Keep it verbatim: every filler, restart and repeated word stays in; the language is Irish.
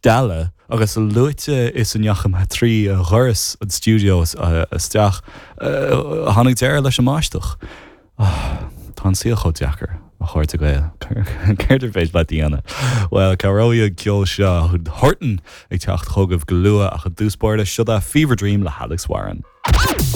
stealladh agus a luaithe is a ndeachaigh mé trí dhoras an stiúideo isteach tháinig deireadh leis an mbáisteach. Tá an saol chomh deacair a chairde Gael Céard ar féidir leat a dhéanamh. Well cabhróidh an ceol seo Horton ag teacht chugaibh go luath ach i dtús báire seo Fever Dream le Alex Warren.